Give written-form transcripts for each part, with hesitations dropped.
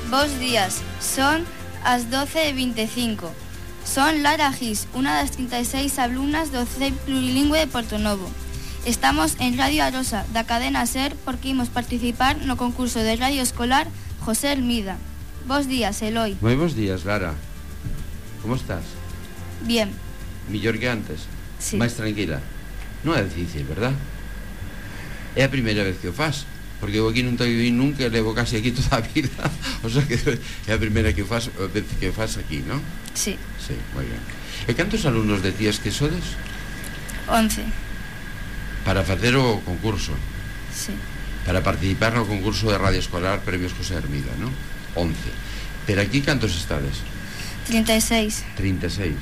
Bos días, son as 12:25. Son Lara Gis, unha das 36 alumnas do CEI Plurilingüe de Portonovo. Estamos en Radio Arosa, da cadena SER, porque imos participar no concurso de radio escolar José Hermida. Bos días, Eloi. Moi bos días, Lara. Como estás? Bien. Millor que antes? Sí. Mais tranquila? Non é difícil, verdad? É a primeira vez que o faz, porque eu aquí non te vi nunca, levo casi aquí toda a vida. O sea que é a primeira que faz aquí, non? Sí. Sí, moi ben. E cantos alumnos de tías que sodes? 11. Para facer o concurso. Sí. Para participar no concurso de radio escolar Premios José Hermida, non? 11. Pero aquí cantos estades? 36. 36.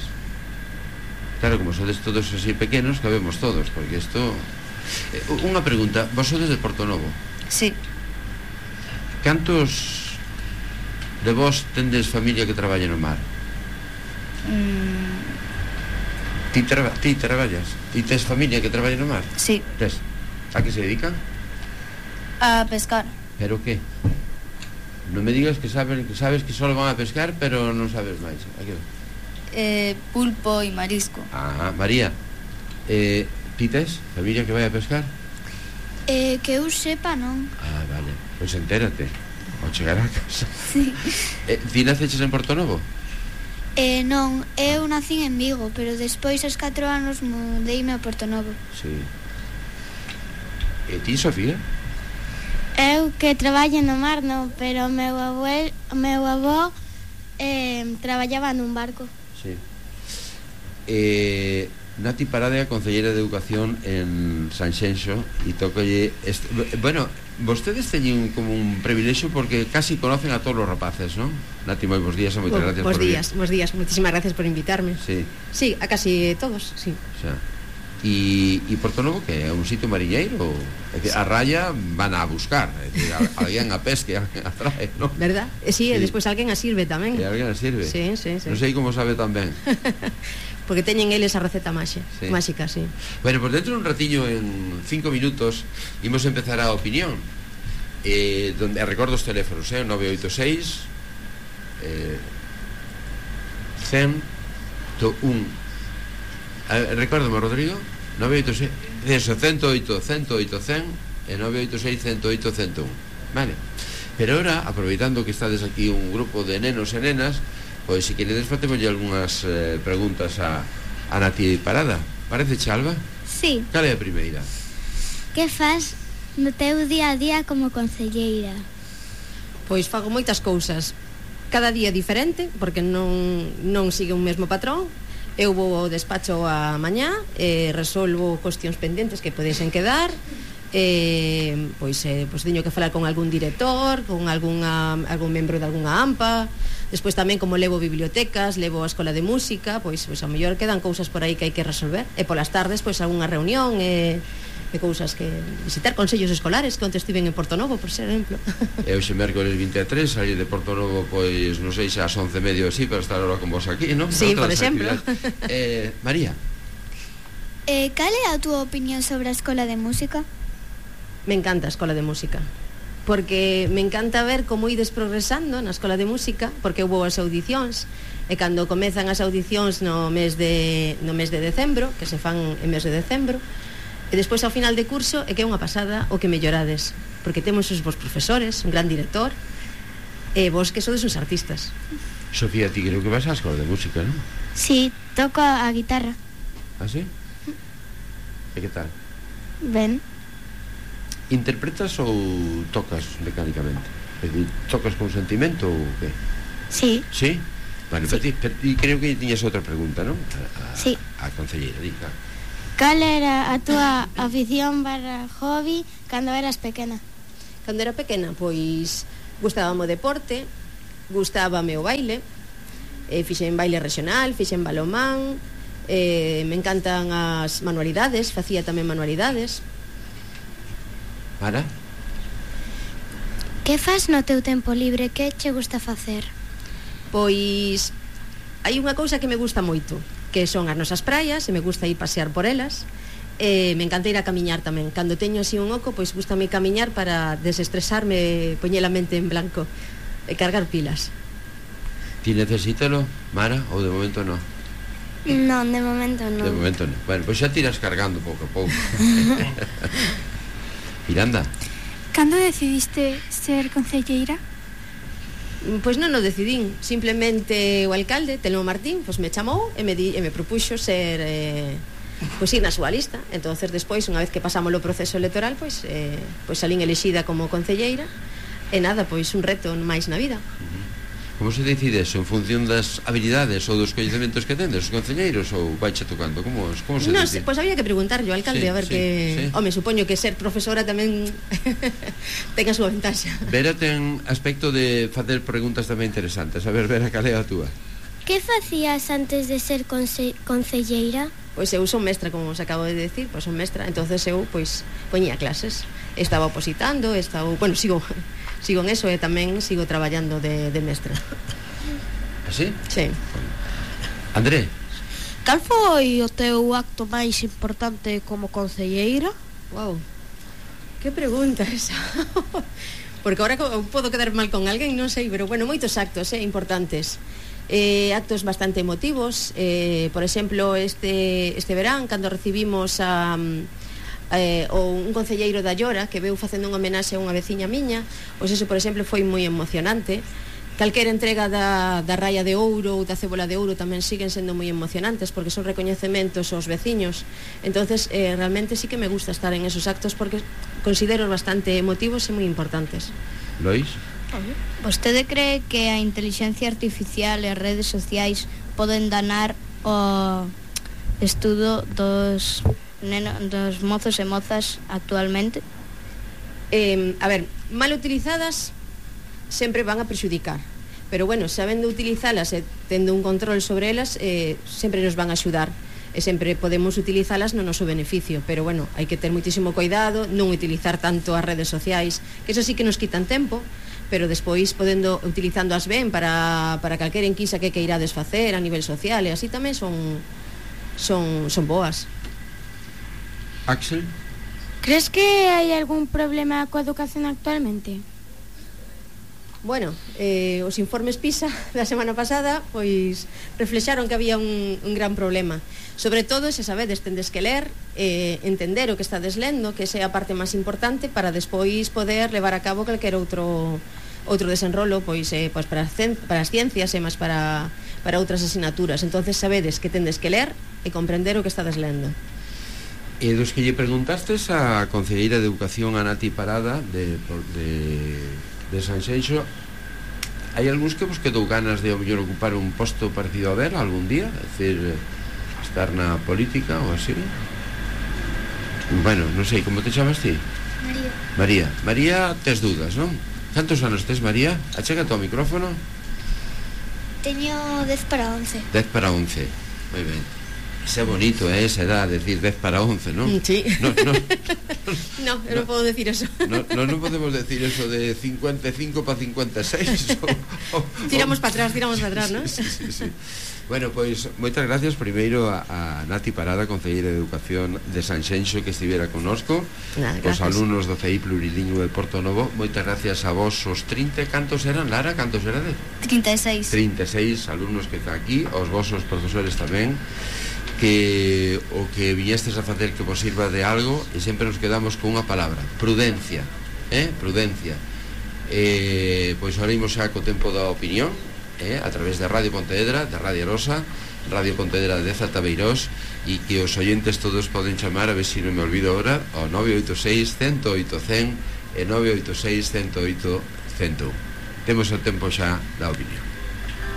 Claro, como sodes todos así pequenos, cabemos todos, porque isto... Unha pregunta, vos sodes de Portonovo? Sí. Cantos de vos tendes familia que traballa no mar? Ti traballas? Ti tes familia que traballa no mar? Sí. Tes? A que se dedican? A pescar. Pero que? Non me digas que sabes que só van a pescar, pero non sabes máis. A que? Pulpo e marisco. Ah, María, ti tes familia que vai a pescar? Que eu sepa, non. Ah, vale, pois entérate ao chegar a casa. Sí. Ti naceches en Portonovo? Non, eu nací en Vigo, pero despois aos 4 anos mudeime a Portonovo. Sí. E ti, Sofía? Eu que traballo no mar, non, pero o meu avó traballaba nun barco. Sí. Nati Parade, a concelleira de Educación en Sanxenxo, e tocolle bueno, vostedes teñen como un privilexio porque casi conocen a todos os rapaces, non? Nati, moi bons días e moitas gracias por vir. Bos días, moitísimas gracias por invitarme. Sí. Sí, a casi todos, sí. O sea, e Portonovo que é un sitio mariñeiro, é dicir, a raya van a buscar, é dicir, alguén a pesque, alguén a trae, non? Verdad? Sí, e despois alguén a sirve tamén. E alguén a sirve? Sí. Non sei como sabe tan ben. Porque teñen eles a receta máxica, sí. Bueno, pues dentro de un ratillo, en 5 minutos, imos empezar a opinión. Donde recordo os teléfonos, 986 101. Recórdame, Rodrigo. 986 108 100 e 986 108 101. Vale. Pero ahora, aproveitando que estades aquí un grupo de nenos e nenas, pois se queredes fatémoslle algunhas preguntas a Nati Parada. Parece, Alba? Sí. Cal é a primeira? Que faz no teu día a día como concelleira? Pois fago moitas cousas. Cada día diferente, porque non sigue un mesmo patrón. Eu vou ao despacho a mañá e resolvo cuestións pendentes que podesen quedar. Pois teño que falar con algún director, con algún membro de algunha AMPA. Despois tamén, como levo bibliotecas, levo a escola de música, pois a mellor quedan cousas por aí que hai que resolver. E polas tardes, pois algunha reunión e cousas que visitar, consellos escolares, que onte estiven en Portonovo, por exemplo. E hoxe mércoles 23, saí de Portonovo, pois non sei xa as 11:30 así, para estar ahora con vos aquí, non? Sí, por exemplo. María. Cal é a túa opinión sobre a escola de música? Me encanta a escola de música, porque me encanta ver como ides progresando na escola de música, porque eu vou as audicións, e cando comezan as audicións no mes de decembro, que se fan en mes de decembro, e despois ao final de curso é que é unha pasada o que mellorades, porque temos os vos profesores, un gran director, e vos que sodes uns artistas. Sofía, ti creo que vas á escola de música, non? Sí, toco a guitarra. Ah, sí? E que tal? Ben. Interpretas ou tocas mecánicamente? É dicir, tocas con sentimento ou que? Sí. Sí? Bueno, sí. Pero creo que tiñas outra pregunta, non? Sí. A concelleira, diga. Cal era a túa afición barra hobby cando eras pequena? Cando era pequena, pois gustábame o deporte, gustábame o baile, fixen baile regional, fixen balomán, me encantan as manualidades, facía tamén manualidades. Mara? Que fas no teu tempo libre? Que che gusta facer? Pois hai unha cousa que me gusta moito, que son as nosas praias, e me gusta ir pasear por elas. Me encanta ir a camiñar tamén. Cando teño así un oco, pois gustame camiñar para desestresarme, poñer a mente en blanco. cargar pilas. Ti necesítalo, Mara, ou de momento non? Non, de momento non. De momento non. Bueno, pois xa tiras cargando pouco a pouco. Miranda. Cando decidiste ser concelleira? Pois non o decidín, simplemente o alcalde, Telmo Martín, pois me chamou e me propuxo ser pois ir na súa lista. Entonces despois, unha vez que pasamos o proceso electoral, pois salín elexida como concelleira e nada, pois un reto máis na vida. Como se decide eso? En función das habilidades ou dos coñecementos que tendes os concelleiros, ou vaiche tocando? Como se decide? Pois había que preguntarlle ao alcalde, Sí, a ver sí, que... sí. Home, supoño que ser profesora tamén ten a súa ventaxa. Vera ten aspecto de facer preguntas tamén interesantes. A ver, Vera, cal é a túa? Que facías antes de ser concelleira? Pois eu son mestra, como os acabo de decir, pois son mestra, entonces eu pois poñía clases, estaba opositando, sigo en eso e tamén sigo traballando de mestra. Así? Sí. André? Cal foi o teu acto máis importante como concelleira? Wow, que pregunta esa. Porque agora podo quedar mal con alguén, non sei, pero bueno, moitos actos importantes. Actos bastante emotivos, por exemplo, este verán, cando recibimos un concelleiro da Llora que veu facendo unha homenaxe a unha veciña miña, pois eso, por exemplo, foi moi emocionante. Calquera entrega da Raia de Ouro ou da Cébola de Ouro tamén siguen sendo moi emocionantes porque son recoñecementos aos veciños. Entonces, realmente sí que me gusta estar en esos actos porque considero bastante emotivos e moi importantes. Lois? Vostede cree que a intelixencia artificial e as redes sociais poden danar o estudo dos mozos e mozas actualmente? A ver, mal utilizadas sempre van a prexudicar, pero bueno, sabendo utilizalas e tendo un control sobre elas, sempre nos van a axudar e sempre podemos utilizalas no noso beneficio, pero bueno, hai que ter moitísimo cuidado, non utilizar tanto as redes sociais, que eso sí que nos quitan tempo, pero despois utilizándoas ben para calquera enquisa que queirades facer a nivel social e así tamén son boas. Axel? Crees que hai algún problema coa educación actualmente? Bueno, os informes PISA da semana pasada pois reflexaron que había un gran problema. Sobre todo, se sabedes, tendes que ler, entender o que estades lendo, que esa é a parte máis importante para despois poder levar a cabo calquer outro desenrolo pois para as ciencias e máis para outras asignaturas. Entonces sabedes que tendes que ler e comprender o que estades lendo. E dos que lle preguntastes a concelleira de Educación, a Nati Parada de Sanxenxo, hai algúns que vos quedou ganas de ao mellor ocupar un posto parecido a Vera algún día, é dicir, estar na política ou así? Bueno, non sei, como te chamas ti? María, tes dudas, non? Cantos anos tes, María? Achégate ao micrófono. Teño 10 para 11. 10 para 11, moi ben. Ese é bonito, esa edad, decir 10 para 11, non? Sí. No, eu non podo decir eso. Non podemos decir eso de 55 para 56. Tiramos para atrás, non? Sí. Bueno, pois, moitas gracias primeiro a Nati Parada, concelleira de Educación de Sanxenxo, que estivera connosco, os alumnos do CEI Plurilingüe de Portonovo. Moitas gracias a vos, os 30, cantos eran, Lara? Cantos erades? 36. 36 alumnos que está aquí, os vosos profesores tamén, que o que viñestes a facer que vos sirva de algo, e sempre nos quedamos con unha palabra: prudencia, prudencia. Pois ahora imos xa co tempo da opinión, a través de Radio Pontevedra, de Radio Arosa, Radio Pontevedra de Zatabeirós, e que os oyentes todos poden chamar, a ver se non me olvido ahora, ao 986 108 100 e 986 108 101. Temos o tempo xa da opinión.